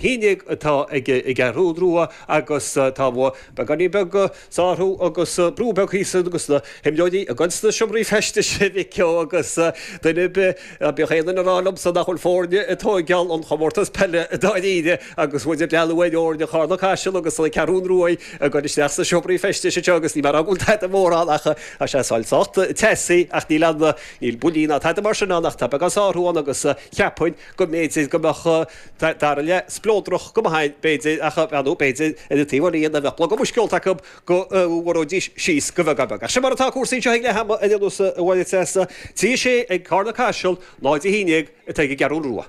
11 atá ag an gCeathrú Rua agus tá beagáinín beag sárú agus brú beag thíos agus na himreoirí ag goil sna seomraí feistis a Mhic Eo agus duine ar bith, ná bíodh aon duine ag rá liomsa nach bhfuil foirne ag tóigeáil an chomórtas peile dáiríre agus muid ag breathnú ar fhoirne Charna Caiseal agus na Ceathrún Ruaidh ag goil isteach sna seomraí feistis anseo agus níl mé ag rá go bhfuil tada mór ann ach tá sé sách teasaí ach níl ann, níl buillí ná tada mar sin ann ach tá beagán sárú ann agus cheapfainn go mb'fhéidir go mbeadh dara leath spleodrach go maith ann, b'fhéidir, ach ar ndóigh, b'fhéidir, ar an taobh eile dhe, bheadh blogadh muisce ólta acu go bhfuaróidís síos go bheagán beag. Ach sin mar atá cúrsaí anseo ag leath ama ar aon nós, a Mháire Treasa. 3 6 ag Carna Caiseal, 0 11 atá ag an gCeathrú Rua.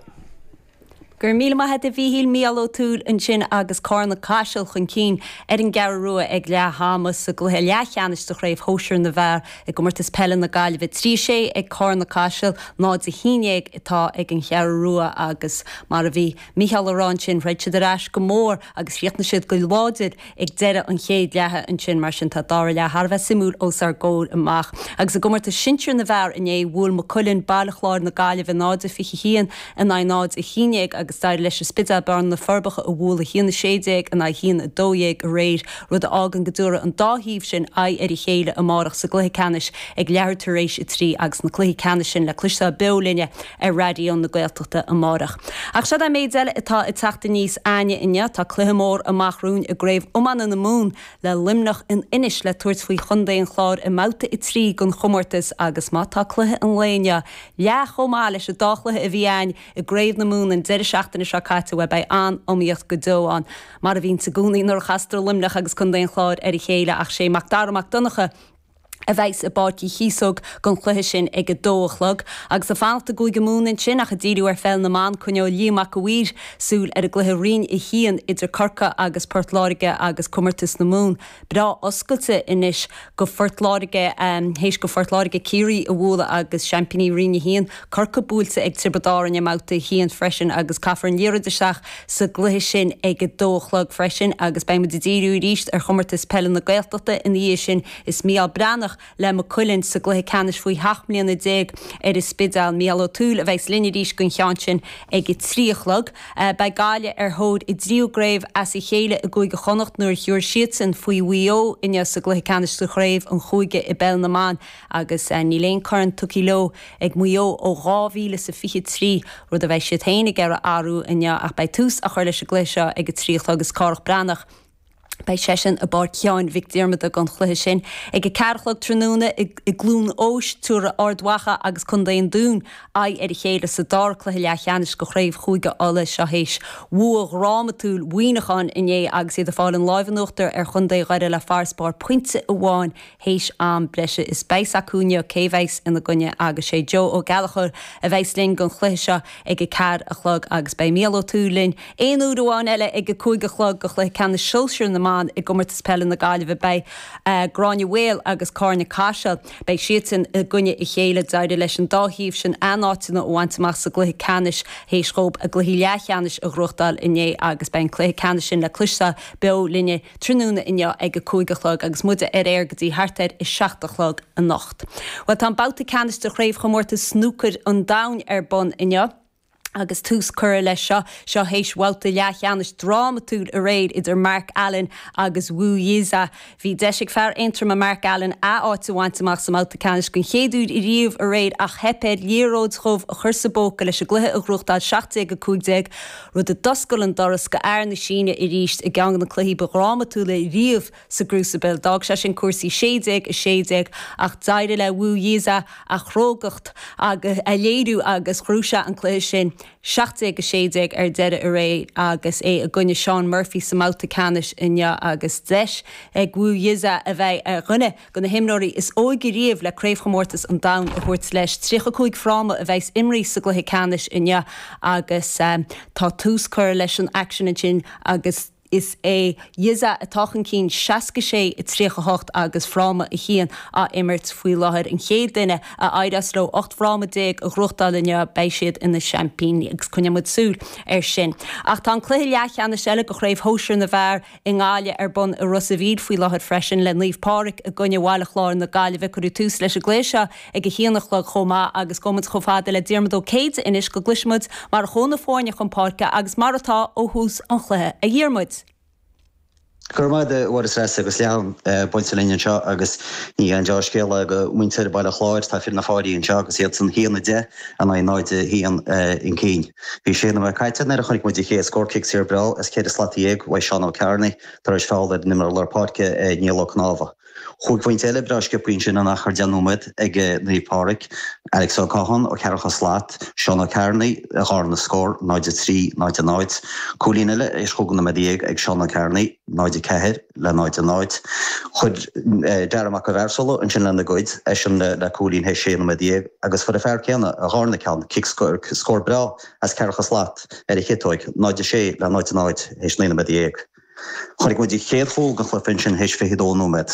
Go raibh míle maith agat a Mhíchíl, Mícheál Ó Tuathail ansin agus Carna Caiseal chun cinn ar an gCeathrú Rua ag leath ama sa gcluiche leathcheannais de Chraobh Shóisir na bhFear i gComórtas Peile na Gaillimhe. 3 6 ag Carna Caiseal, 0 11 atá ag an Cheathrú Rua agus mar a bhí Mícheál a rá ansin, throid siad ar ais go mór agus chríochnaigh siad go láidir ag deireadh an chéad leatha ansin. Mar sin tá dara leath thar a bheith suimiúil os ár gcomhair amach. Agus i gcomórtas sinsir na bhfear inné, bhuail Maigh Cuilinn, Baile Chláir na Gaillimhe 0-21 in aghaidh 0-11 agus d'éirigh leis an Spidéal Bearna na Forbacha a bhualadh 1-16 in aghaidh 1-12 aréir, rud a fhágann go dtabharfaidh an dá thaobh sin aghaidh ar a chéile amárach sa gcluiche ceannais ag leathuair tar éis a 3 agus na cluichí ceannais sin le cloisteáil beo linne ar Raidió na Gaeltachta amárach. Ach seo an méid eile atá ag teacht aníos a'ainne inniu. Tá cluiche mór amach romhainn i gCraobh Iomána na Mumhan le Luimneach in Inis le tabhairt faoi Chontae an Chláir i mbabhta 3 den chomórtas agus má tá cluiche an lae inniu leath chomh maith leis an dá chluiche a bhí a'ainn i gCraobh na Mumhan an deireadh seachtaine seo caite, bhuel beidh an-iomaíocht go deo ann mar a bhíonns i gcónaí nuair a chastar Luimneach agus Contae an Chláir ar a chéile ach sé Mac Dara Mac Donncha a bheas i bPáirc Uí Chíosóg don chluiche sin ag a dó a chlog. Agus ag fanacht i gCúige Mumhan ansin ach ag díriú ar pheil na mban, coinneoidh Liam Mac a' Mhaoir súil ar an gcluiche Roinn 1 idir Corcaigh agus Port Láirge agus Comórtas na Mumhan breá oscailte anois go Phort Láirge théis go Phort Láirge Ciarraí a bhualadh agus seaimpíní Roinn 1, Corcaigh buailte ag Tiobraid Árann i mbabhta 1 freisin agus caithfear an liathróid isteach sa gcluiche sin ag a dó a chlog freisin agus beidh muid ag díriú arís ar Chomórtas Peile na Gaeltachta ina dhiaidh sin. Is Mícheál Breathnach le Maigh Cuilinn sa gcluiche ceannais faoi sheacht mbliana ar an Spidéal. Mícheál Ó Tuathail a bheas linn arís don cheann sin ag a 3 a chlog. Beidh Gaillimh ar thóir a dtríú gcraobh as a chéile i gCúige Chonnacht nuair a thiúrfaidh siadsan faoi Mhaigh Eo inniu sa gcluiche ceannais de chraobh an chúige i bPeil na mBan agus níl aon corn tugtha leo ag Maigh Eo ó 2023, rud a bheidh siad féin ag iarraidh athrú inniu ach beidh tús á chur leis an gcluiche seo ag a 3 a chlog is Cárthach Breathnach Beidh seisean i bPáirc Sheáin Mhic Diarmada don chluiche sin. Ag a 4 a chlog tráthnóna i gCluain Eois, tabharfaidh Ard Mhacha agus Contae an Dúin aghaidh ar a chéile sa dara cluiche leathcheannais de Chraobh Chúige Uladh. Seo théis bhua dhrámatúil Mhuineacháin inné agus iad ag fáil an láimh in uachtar ar Chontae Dhoire le farasbarr pointe amháin théis am breise. Is beidh 's acu inniu cé bheas ina gcoinne agus sé Joe Ó Gallchóir a bheas linn don chluiche seo ag a 4 a chlog agus beidh Mícheál Ó Tuathail linn aon uair amháin eile ag a 5 a chlog do chluiche ceannais sóisir na mban i gComórtas Peile na Gaillimhe. Beidh Gráinne Mhaol agus Carna Caiseal, beidh siadsan i gcoinne a chéile. D'éirigh leis an dá thaobh sin a n-áiteanna a bhaint amach sa gcluiche ceannais théis dhóibh a gcluichí leathcheannais a ghnóthachtáil inné agus beidh an cluiche ceannais sin le cloisteáil beo linne tráthnóna inniu ag a 5 a chlog agus muide ar aer go dtí thart ar a 7 a chlog anocht. Bhuel, tá an babhta ceannais de Chraobhchomórtas Snúcair an Domhain ar bun inniu agus tús curtha leis seo, seo théis bhabhta leathcheannais drámatúil aréir idir Mark Allen agus Wu Yize. Bhí deis ag fear Aontroma Mark Allen a áit a bhaint amach sa mbabhta ceannais den chéad uair ariamh aréir ach theip air liathróid dhubh a chur sa bpóca leis an gcluiche a ghnóthachtáil 17-15. rud a d'oscail an doras go fhear na Síne arís i gceann de na cluichí ba dhrámatúla riamh sa gCrucible. D'fhág sé sin cúrsaí 16, 16 ach d'éirigh le Wu Yize a chrógacht a léiriú agus ghnóthaigh sé an cluiche sin 17, 16 ar deireadh aréir agus é i gcoinne Shaun Murphy sa mbabhta ceannais inniu agus deis ag Wu Yize a bheith ar dhuine de na himreoirí is óige riamh le Craobhchomórtas an Domhain a thabhairt leis. 35 fráma a bheas imrithe sa gcluiche ceannais inniu agus tá tús curtha leis an aicsean ansin agus. Is é Yza atá chun cinn 66, 38 agus fráma 1 á imirt faoi láthair. An chéad duine a éireos leo 18 bhfráma a ghnóthachtáil inniu, beidh siad ina seaimpíní agus coinneoidh muid súil air sin. Ach tá an cluiche leathcheannais eile de Chraobh Shóisir na bhFear i nGaillimh ar bun i Ros a' Mhíl faoi láthair freisin le Naomh Pádraig i gcoinne Bhaile Chláir na Gaillimhe. Cuireadh tús leis an gcluiche seo ag a haon a chlog chomh maith agus gabhfaidh muid chomh fada le Diarmuid Ó Céide anois go gcloisfidh muid mar a chuaigh na foirne chun páirce agus mar atá ó thús an chluiche. A Dhiarmuid. Go raibh maith agat, a Mháire Treasa, agus leath-am buailte linn anseo agus ní haon deá-scéala do mhuintir Bhaile Chláir. Tá fir na Fáirí anseo agus iadsan 1-10 in aghaidh 0-1 chun cinn. Bhí sé nóiméad caite nuair a chonaic muid an chéad scór, cic saor breá as ceithre slat dhéag uaidh Seán Ó Cearnaigh tar éis feall ar an imreoir lár páirce Niall Ó Cnámha. Chúig phointe eile breá sciobtha ansin in achar 10 nóiméad ag Naomh Pádraig, Alex Ó Catháin ó cheathracha slat, Seán Ó Cearnaigh a dharna scór, 0-3, 0-0. Cúilín eile théis chúig nóiméad dhéag ag Seán Ó Cearnaigh, 0-4 le 0-0. Chuir Dara Mac an Mhearsóla ansin lena gcuid, eisean le cúilín théis sé nóiméad dhéag agus fuair an fear céanna a dharna ceann, cic scór breá as ceathracha slat ar a chiotóig, 0-6 le 0-0 théis 19 nóiméad. Chonaic muid an chéad chúl den chluiche ansin théis 22 nóiméad.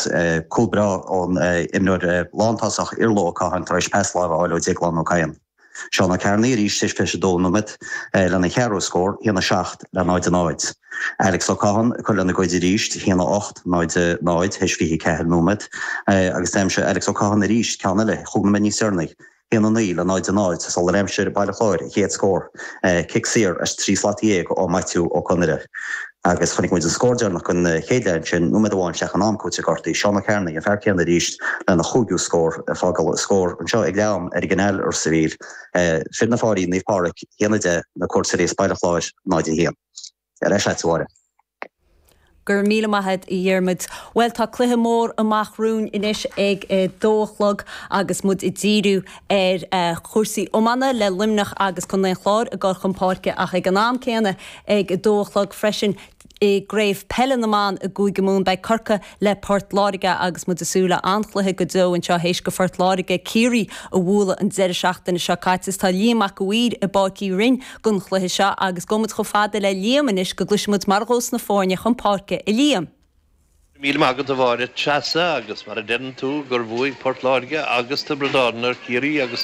Cúl breá ón imreoir lántosach Iarla Ó Catháin tar éis pas láimhe a fháil ó Déaglán Ó Cadhain. Seán Ó Cearnaigh arís théis 22 nóiméad lena cheathrú scór, 1-7 le 0-0. Alex Ó Catháin ag cur lena gcuid arís, 1-8, 0-0 théis 24 nóiméad agus d'aimsigh Alex Ó Catháin arís ceann eile chúig nóiméad níos deireanaí. 1-9 le 0-0 sular aimsigh Baile Chláir a chéad scór, cic saor as 13 slat ó Maitiú Ó Conaire. Agus chonaic muid an scór deireanach den chéad leath ansin, nóiméad amháin isteach in am cúitimh gortaithe, Seán Ó Cearnaigh, an fear céanna arís, lena chúigiú scór, ag fágáil an scór anseo ag leath am ar an gCanáil i Ros a' Mhíl. Fir na Fáirí, Naomh Pádraig, 1-10, na cuairteoirí as Baile Chláir, 0-1. Ar ais leat, a Mháire. Go raibh míle maith a't, a Dhiarmuid. Bhuel, tá cluiche mór amach romhainn anois ag a dó a chlog agus muid ag díriú ar chúrsaí iomána le Luimneach agus Contae an Chláir ag dul chun páirce ach ag an am céanna ag a dó a chlog freisin i gCraobh Peile na mBan i gCúige Mumhan beidh Corcaigh le Port Láirge agus muid ag súil le an-chluiche go deo anseo théis do Phort Láirge Ciarraí a bhualadh an deireadh seachtaine seo caite. Tá Liam Mac a' Mhaoir i bPáirc Uí Rinn don chluiche seo agus gabhfaidh muid chomh fada le Liam anois go gcloisfidh muid mar a ghabhfas na foirne chun páirce, a Liam. Go raibh míle maith agat a Mháire Treasa agus mar a deireann tú gur bhuaigh Port Láirge agus Tiobraid Árann ar Chiarraí agus.